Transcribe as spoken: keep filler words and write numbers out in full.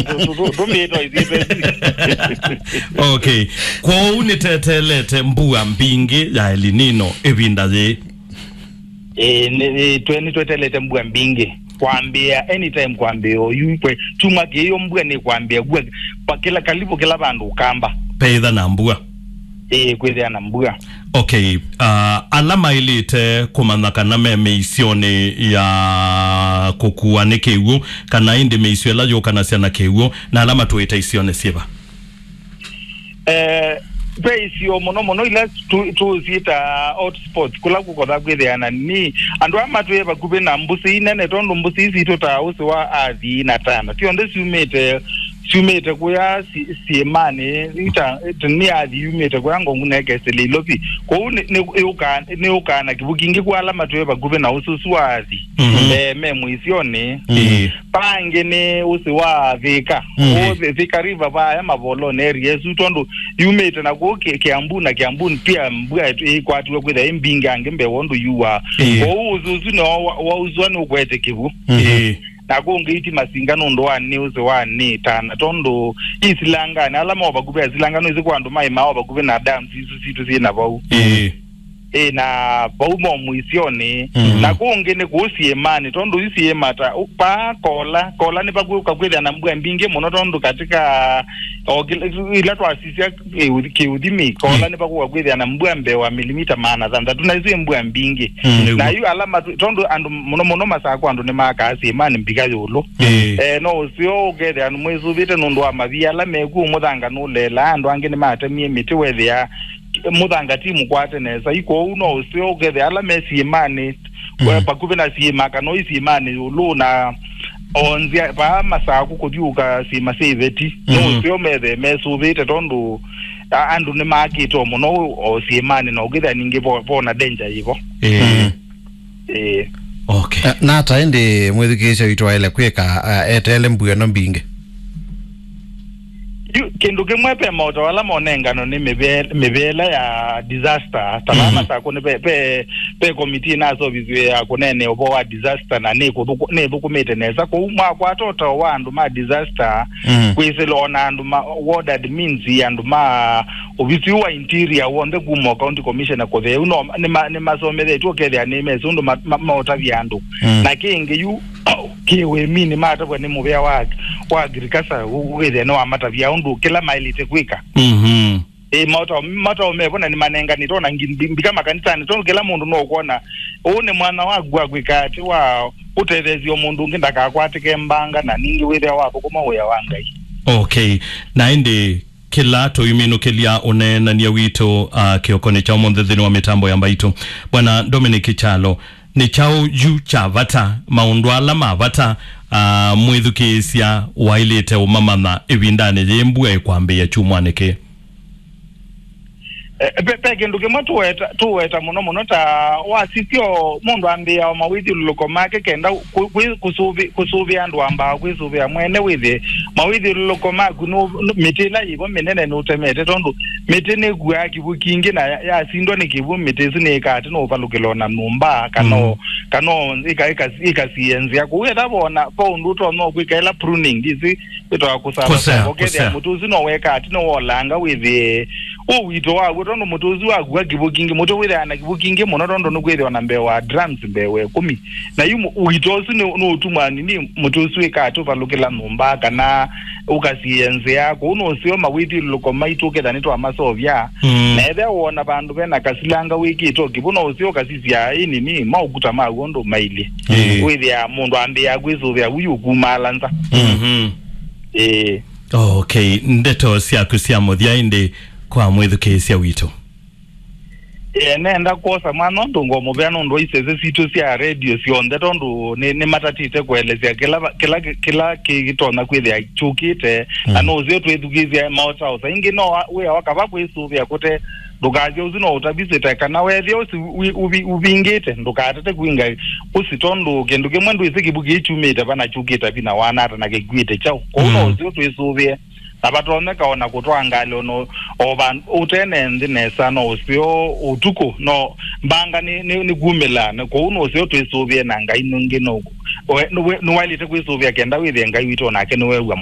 Tũ- tũ- tũ- tũmĩtwa ithyĩ. Okay. Kwoou nĩteteelete mbua mbingĩ ya El Nino ĩvinda yĩĩ. Ĩĩ, nĩ- nĩ- twe- nĩtweteelete mbua mbingĩ kwambĩĩa anytime, kwambĩĩa oyu kwe kyumwa kĩĩ, mbua nĩkwambĩĩa mbua pa kĩla, kalivu kĩla vandũ ũkamba. Peitha na mbua. Ĩĩ, kwĩthĩa na mbua. Okay. Uh, ala maĩlĩte kũmanya kana me mĩisyonĩ ya kũkua nĩ kĩw'ũ, kana ĩndĩ mĩisyo ĩla yũkanasya na kĩw'ũ, na ala matũĩte isyonĩ syĩva? Eh, ve isio mũno mũno ila tu- tũsyĩta hotspots, kũla kũkotha kwĩthĩana nĩ andũ aa matwĩe vakuvĩ na mbũsĩ inene, tondũ mbũsĩ ii sitũ ta ũsĩ wa athi na tana, syonthe syumĩte syumĩte kũya si- syĩmanĩ, ita- nĩ athi yumĩte kũya Ngong'u na ĩkesĩlya Ilovi. Kwoou nĩ- nĩ- yũkaa- nĩyũkaa na kĩvũ kingĩ kwa ala matwĩe vakuvĩ na ũsĩ ũsu wa athi. Mhm. Eh, me mũisyonĩ. Ĩĩ. Vangĩ nĩ ũsĩ wa Thika. Mhm. Ũũ Thi- Thika River vaya mavolonĩ area ĩsu, tondũ yumĩte na kũu Ki- Kiambu, na Kiambu pia mbua ĩt- ĩkwatiwe kwĩthĩa ĩ mbingĩ angĩ mbee wa ũndũ yuaa. Ĩĩ. Kwoou ũsĩ ũsu nĩwausũa nĩũkwete kĩw'ũ. Mhm. Ĩĩ. Na kũngĩ iti masinga nũndũ wa nĩ ũsĩ wa nĩ tana, tondũ isilanganĩ ala mo vakuvĩ asilanga nũĩsĩ kwa andũ maĩ mao vakuvĩ na dams isu sitũ syĩ na vau. Ĩĩ. Ĩ, na vau mo mũisyonĩ. Mhm. Na kũngĩ nĩ kũu syĩmanĩ, tondũ yu syĩma ta ũ- paa Kola, Kola nĩ vakwĩũka kwĩthĩa na mbua mbingĩ mũno, tondũ katika o kĩla- ila twasisya kĩũthi- kĩũthimi, Kola Mm. nĩ vakwĩũka kwĩthĩa na mbua mbee wa milimita maana thanthatũ, na isu ĩ mbua mbingĩ. Mm. Na yu ala matu- tondũ andũ mũno mũno Masakũ andũ nĩmakaa syĩmanĩ mbika yũlũ. Ĩĩ. Eh, no ũseo ũkethĩa andũ mwĩsũvĩte nũndũ wa mavia ala mekuo, mũthanga nũleelaa, andũ angĩ nĩmatemie mĩtĩ, wethĩa mũthanga ti mũkwate nesa. Ĩ kwoou no ũseo ũkethĩa ala me syĩmanĩ, Mm. we- vakuvĩ na syĩma, kana oi syĩmanĩ yũlũ, na onzya vaa Masakũ kũthiũka syĩma sya iveti, no Mm. ũseo methe mesũvĩte, tondũ a- andũ nĩmakĩte o mũno o syĩmanĩ, na ũkĩthĩa ningĩ vo- vona danger yĩvo. Ĩĩ. Mm. Ĩĩ. Okay. Eh, nata ĩndĩ mwĩthukĩĩsya witũ waĩle kwĩka, ah, eteele mbua ĩno mbingĩ? Yu, kĩndũ kĩmwe, ve maũtao ala monengano nĩ mĩve- mĩveela ya disaster, ta vaa Mm. Masakũ nĩ ve, ve, ve komiti ĩnasovisiwe ya kũneenea ũvoo wa disaster, na nĩ kũthũkũ- nĩ ĩthũkũmĩte nesa. Kwoou mwakwata ũtao wa andũ ma disaster, Mm. kwĩsĩla ona andũ ma ward admins, andũ ma ovisi ũũ wa interior w'onthe kuma o county commissioner kũtheu, no nĩma- nĩmasomethetw'e ũkethĩa nĩmesĩ ũndũ ma- ma- maũtavya andũ. Mm. Na kĩngĩ yu kĩ ũĩminĩ matavw'a nĩ mũvĩa wa, wa agriculture, ũkethĩa nĩwamatavya ũndũ kĩla maĩlĩte kwĩka. Mhm. Ĩ, maũtao maũtao mevo na nĩmanenganĩtwe ona ngi- mbi- mbika makanisanĩ, tondũ kĩla mũndũ no ũkwona ũũ nĩ mwanya waku wa kwĩka atĩ wa ũtetheesya mũndũ ũngĩ ndakakwatĩke mbanga, na ningĩ wĩthĩa wathũkũma wĩa wa Ngai. Okay. Na ĩndĩ kĩla tũiminũkĩlya ũneenany'a witũ, uh, kĩokonĩ kya ũmũnthĩ nthĩnĩ wa mĩtambo ya Mbaitũ, Bwana Dominic Kyalo, nĩ kyaũ yu kya vata, maũndũ ala ma vata, uh, mwĩthukĩĩsya waĩlĩte ũmamanya ĩvindanĩ yĩĩ mbua ĩkwambĩĩa kyumwanĩ kĩĩ? Eh, ve, ve kĩndũ kĩmwe tũweta, tũweta mũno mũno ta wasisyo mũndũ ambĩĩa o mawĩthyũlũlũko make kenda kũ- kwĩ- kũsũvĩ- kũsũvĩa andũ ambaa kwĩsũvĩa mwene wĩthĩ mawĩthyũlũlũko maku nũ- nũ- mĩtĩ ĩla yĩvo mĩnene nũtemete, tondũ mĩtĩ nĩkuaa kĩw'ũ kingĩ na ya- yasindwa nĩ kĩw'ũ, mĩtĩ ĩsu nĩĩkaa atĩ nũũvalũkĩla ona nyũmba kana Mm. o- kana o- ĩka- ĩka- ĩkasiĩe nzĩa kũu. Etha vona va ũndũ ũtonya kwĩka ĩla pruning, ndĩsĩ wĩtawa kũsava Kũsea, sava, ũkethĩa kũsea. mũtĩ ũsu no weka atĩ nĩwolanga wĩthĩe ũwito waw'o, tondũ mũtĩ ũsu wakua kĩw'ũ kingĩ, mũtĩ wĩthĩaa na kĩw'ũ kingĩ mũno, tondũ nĩkwĩthĩwa na mbee wa drums mbee wa ĩkũmi. Na yu mu- ũito ũsu nĩ- nĩũtumwa nini mũtĩ ũsu wĩka atĩ ũvalũkĩla nyũmba, kana ũkasiĩe nzĩa. Kũu no ũseo mawĩthyũlũlũko maitũ ũketha nĩtwamasovya. Mm. Na ethĩa wona vandũ vena kasilanga wĩkĩte o kĩw'ũ, no ũseo ũkasisya ĩ nini maũkuta maw'o ũndũ mailye. Ĩĩ. Wĩthĩa mũndũ ambĩĩa kwĩsũvĩa wĩ ũkumaala nza. Mhm. Ĩĩ. Okay, ndeto syaku sya mũthya ĩndĩ kwa mwĩthukĩĩsya witũ. Ĩĩ, nenda kwosa mwana ũndũ ngomũvea nũndũ wa isese sitũ sya redio syonthe, tondũ nĩ- nĩmatatĩte kũelesya kĩla va- kĩla kĩ- kĩla kĩtonya kwĩthĩa kyũkĩte, na Mm. no ũseo twĩthukĩĩsya maotaosa. Ĩngĩ no wa- wĩa wa kava kwĩsũvĩa kũte ndũkasya ũsu no ũtavisĩte, kana wethĩa ũsi wi- ũvi- ũvingĩte, ndũkatate kwinga ũsi, tondũ kĩndũ kĩmwe ndwĩsĩ kĩw'ũ kĩĩ kyumĩte va na kyũkĩte vi na wanata na kĩkuĩte kyaũ. Kwoou no Mm. ũseo twĩsũvĩe, na vatonyeka ona kũtwaa ngalĩ ona o va ũtene nthĩ nesa, no ũseo ũtukũ, no mbanga nĩ- nĩ- nĩkumĩla, na kwoou no ũseo twĩsũvĩe na Ngai nũngĩ no we- nĩwe- nĩwaĩlĩte kwĩsũvĩa kenda wĩthĩe Ngai witũ onake nĩwew'a